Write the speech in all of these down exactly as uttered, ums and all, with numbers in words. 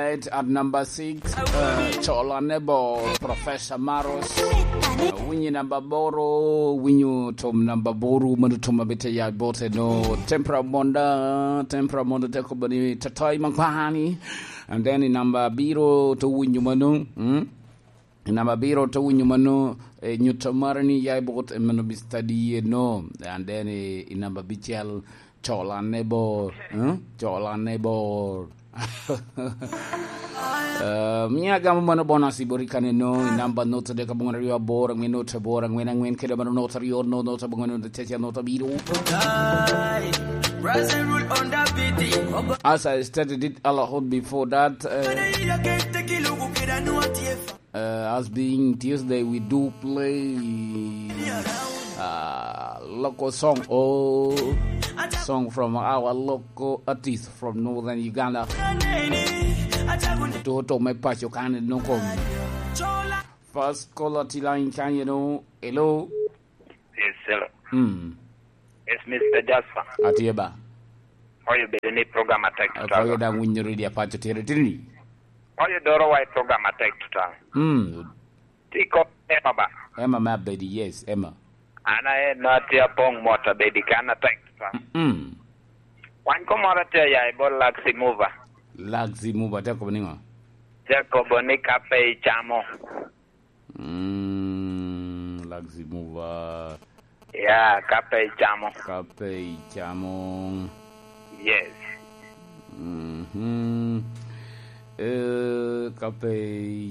At number six, uh, Chola Nebo, Professor Maros. Uh, winyo number boro, winyo tom number boro, mano tom abite ya bote no. Tempera Monda, Tempera Monda te kobo ni tatai makwani. And then in number biro to winyo mano. Hmm? In number biro to winyo mano, eh, nyuto mare ni ya bot, eh, mano Mister D, eh, no. And then, eh, in number bicel, Chola Nebo, eh? Chola Nebo. Eh, mia gamo mano bonus i bori kane no, i namba note dek abongwen aryo abor, angwen note abor, angwen angwen, kede mano note aryo, no, note abongwen, note acel, note abiro. As I stated it a lot before that, eh, Uh, as being Tuesday, we do play, uh, local song or song from our local artist from Northern Uganda. Toto me pacho kane no kom. First caller to line kanye no. Hello. Yes, hello. Mm. Yes, Mister Jasper. Atye ba. Oyo bedo ni program atek tutwal. Oyo dang winyo radio apaco tere tini. Oyo doro wa i program atek tutwal. Mm. Ti kop Emma ba. Emma me abedi, yes, Emma. An aye no atye apong mot abedi kan atek tutwal. Mm. Wan ko moro atye ya i bot Laxi Mover. Laxi Mover, te kobo ni ŋo? Te kobo ni ka pe icamo. Mm, Laxi Mover. Ya, ka pe icamo. Ka pe icamo. Yes. Mhm. Eh, ka pe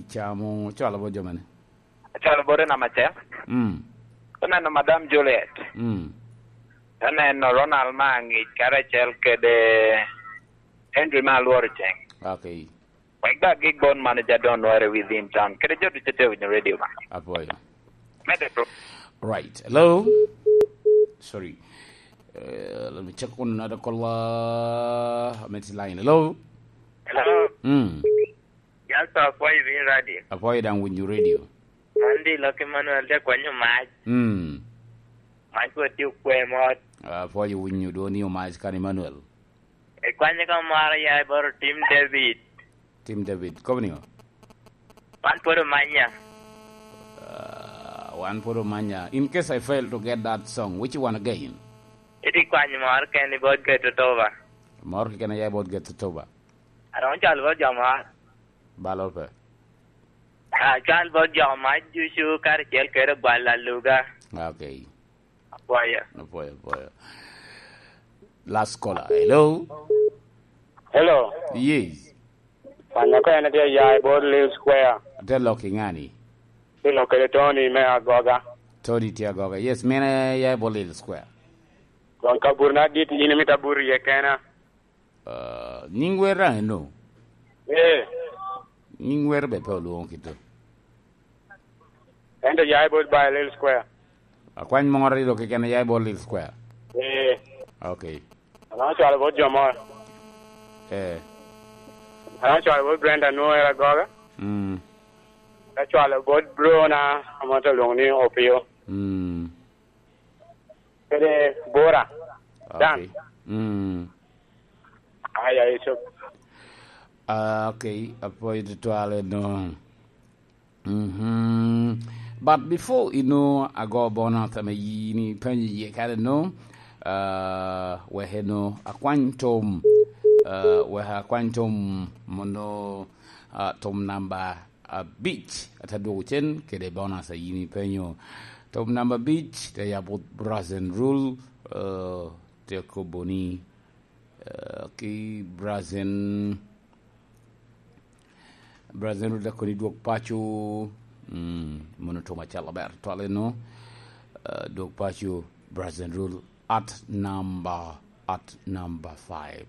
icamo. Cwalo bo jo mene? Cwalo bo Rena Macel. Mm. Oneno Madam Juliet. Mm. Oneno Ronald ma angic karacel kede Henry ma alworo ceng. Okay. Wek ba gig bon manager don nwere within town. Kede jo ducu te winyo radio ba. Apwoyo. Mede pro. Right. Hello? Sorry. Uh, let me check on another caller. I'm at the line. Hello? Hello? Mm. Yes, sir. Apwoyo i radio. Apwoyo dang winyo radio. Andy Lucky Manuel te kwanyo mac. Mm. Mac wa tye okwe mot. Apwoyo winyo dwoni omac kan Emmanuel. Ikwanye ka maro ya i boro Tim David. Tim David, kobo niŋo? Wan pwod omanya. Uh, wan pwod omanya. In case I fail to get that song, which one again? Iti kwany mor ken i bot Get Totoba. Mor keken aya i bot Get Totoba. Aroŋo cwal bot jo mor. Balo pe. Ah, cwal bot jo mac ducu karacel kede gwal aluga. Okay. Apwoyo. Apwoyo, apwoyo. Last caller. Hello? Hello. Yes. Wan ko en atye ya i bot Lil Square. Ate lok i ŋani? Ate lok kede Tony me Agoga. Tony tye Agoga. Yes, mene ya i bot Lil Square. Koŋ kaburna dit, in imito abur iye kena. Ah, nying wer daŋ eno? Ee. Nying wer be pe olwoŋo kito. Ento ya i bot Bailey Square. Akwany moro aryo keken ya i bot Lil Square? Ee. Okay. An acwalo bot jo moro. Ee. An acwalo bot Brenda Noel Agoga. Mm. Acwalo bot Brona, ame te lwoŋo ni Opio. Mm. Kede Bora. Dan. Okay. Mm. Aya, Yusuf. Ah, okay. Apwoyo tutwal eno. Mhm. But before ino ago bonus ame yin ipenyo iye kare no, ah, wek eno akwany tom, ah, wek akwany tom mono, ah, tom namba abic, ate dwogo cen kede bonus a yin ipenyo. Tom namba abic, te yabo Brazen Rule, ah, te kobo ni, ah, ki Brazen, Brazen Rule te koni dwog paco, mm, mono tom acel aber twal eno, ah, dwog paco, Brazen Rule at number, at number five.